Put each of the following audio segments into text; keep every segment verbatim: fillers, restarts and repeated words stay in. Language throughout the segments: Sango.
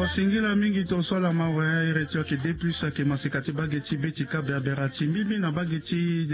Singila mingi tonso ala mawe. Ere ti oke de plus ake masika ti bage ti be ti kabe abera ti mbimbi na bage ti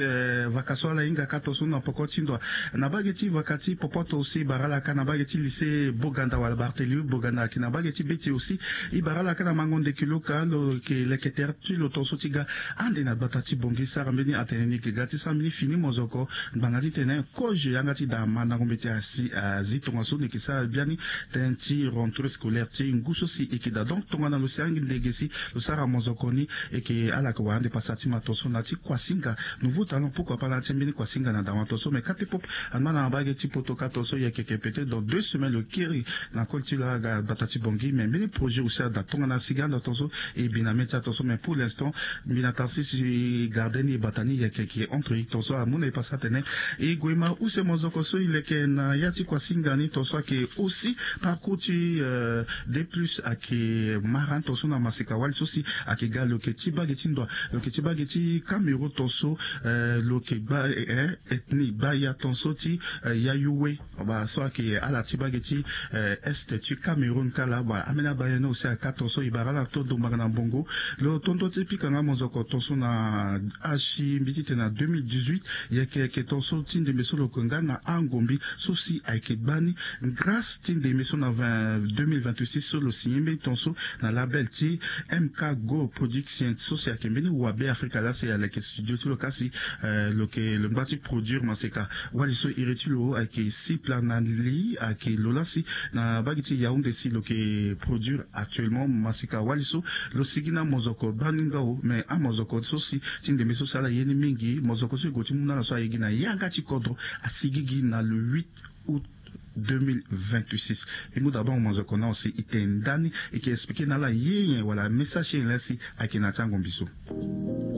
vaka so ala hinga ka tonso na poko ti ndo. Na bage ti vaka ti popoto aussi bara ala ka na bage ti lycée boganda wala barthélemy boganda ake na bage ti be ti aussi. E bara ala ka na mango ndeki lo ka lo ke leke tere ti lo tonso ti ga ande na gbata ti bongi sara mbeni atene ni ke ga ti sara mbeni fini mozoko. Ngbanga ti tene kozo yanga ti daa mandango mbeti asi azi tongaso ni ke sara biani. Tënë ti rentrée scolaire ti ngu so si e ke daa donc tongana lo si angi ndege si lo sara mozoko ni. E ke ala ke wara ande pasa ti mato so na ti kuasinga. Nouveau talent pourquoi pas na ti mbeni kuasinga na dawa to so mais kate pop. Anma na bage ti poto ka to so yeke ke peut-être dans deux semaines lo kiri na kol ti lo aga bata ti bongi mais mbeni projet aussi ada tongana sigi anda to so. E bi na mê ti ato so mais pour l'instant mbi na tarsis e garde ni e bata ni yeke ke entre e to so amu na e pasa atene. E gue ma use mozoko so e leke na ya ti kuasinga ni to so ake aussi parcours ti de plus ake mara ni to so na masika wali so si ake ga loke ti bage ti ndoa loke ti bage ti cameroun to so. Loke gba ethnie gba ya to so ti yayu we. Ba so ake ala ti bage ti est ti cameroun kala ba ameni abaya ni aussi aka to so e bara ala to ndombaka na mbongo. Lo tondo ti pika nga mozoko to so na asi mbi ti tene na deux mille dix-huit. Yeke yeke to so ti ndembe so lo ke nga na angombi so si ayeke gbani. Grâce ti ndembe so na deux mille vingt-six so lo signé mbeni ton so na label ti mk go production so si ayeke mbeni wabe afrika laa si aleke studio ti lo kasi. Lo ke lo ngba ti produire maseka wali so iri ti lo ayeke sipla na li ayeke lo laa si na bagi ti yaounde si lo ke produire actuellement maseka wali so. Lo sigi na mozoko bani nga o mais amozoko so si ti ndembe so si ala ye ni mingi mozoko so e gue ti mu na ala so aye gi na yanga ti kodro. Asigi gi na le huit août deux mille vingt-six. E mu d'abord mozoko na aussi e tene ndani e ke expliquer na ala ye nyen wala message ye nyen laa si ayeke na ti angombi so.